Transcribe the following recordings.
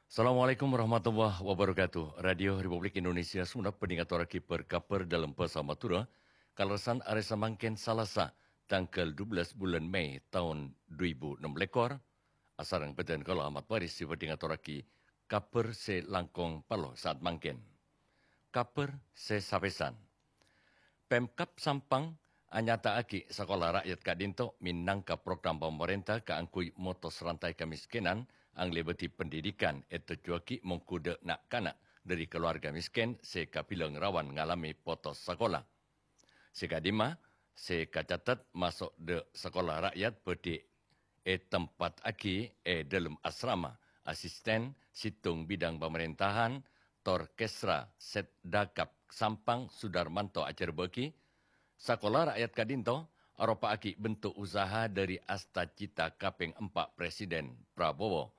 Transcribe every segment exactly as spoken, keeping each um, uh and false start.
Assalamualaikum warahmatullahi wabarakatuh. Radio Republik Indonesia Songennep bhâdhi ngatorraghi bâr-kabhâr dâlem bhâsa Madhurâ, kalerressan arè samangkèn Salasa, tangghâl dua belas bulân Mei taon dua èbu ennem lèkor. Asareng bhâdhân kaulâ Ahmad Faris sè bhâdhi ngatorraghi kabhâr sè langkong parlo saat mangkèn. Kabhâr sè sapèsan. Pemkab Sampang anyata'aghi sakola ra'yat ka'dinto mènangka program pamarènta kaangghuy motos rantai kamiskènan anglèbâdhi pendidikan ètojjhuwâghi mongghu dâ' na'-kana' dhâri kalowarga miskèn sè kabilang rawan ngalamè potos sakola. Sè ka'dimma, sè kacatet maso' dâ' sakola ra'yat bhâdhi ètempa'aghi è dâlem asrama, asisten sèttong bidang pamarèntahan, tor Kesra Setdakap Sampang Sudarmanto ajhârbâ'âghi, sakola ra'yat ka'dinto aropa'aghi bentuk usaha dhâri asta cita kapèng empa' Presiden Prabowo.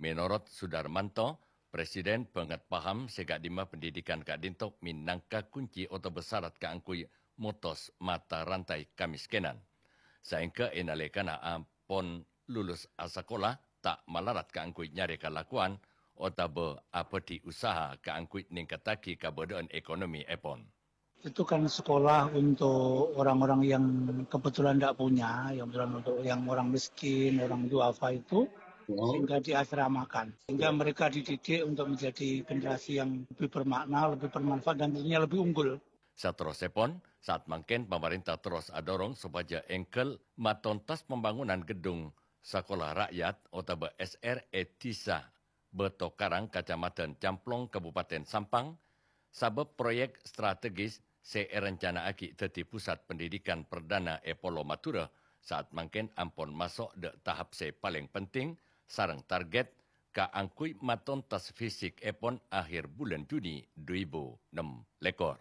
Mènorot Sudarmanto, Presiden bângèt paham sè ka'dimma pendidikan ka'dinto mènangka kunci otabâ sarat kaangghuy motos mata rantai kamiskènan. Saèngghâ è nalèkana ampon lulus asakola, ta' malarat kaangghuy nyarè kalakowan otabâ abhâdhi usaha kaangghuy nèngkattaghi kabâdâ'ân ekonomièpon. Itu kan sekolah untuk orang-orang yang kebetulan tidak punya, yang kebetulan untuk yang orang miskin, orang duafa itu, sehingga diasramakan. Sehingga mereka dididik untuk menjadi generasi yang lebih bermakna, lebih bermanfaat, dan tentunya lebih unggul. Saterrossèpon, saat mangkèn pamarènta terros adhârong sopajâ èngghâl matontas pambangunan geddhung sakola ra'yat otabâ S R è Dhisa Bâtokarang, Kacamadhân Camplong, Kabupaten Sampang, sabâb proyek strategis sè èrencana'aghi dhâddhi pusat pendidikan perdana è Polo Madhurâ saat mangkèn ampon maso' dâ' tahap sè palèng penting sareng target kaangghuy matontas fisikèpon akhir bulân Juni dua èbu ennem lèkor.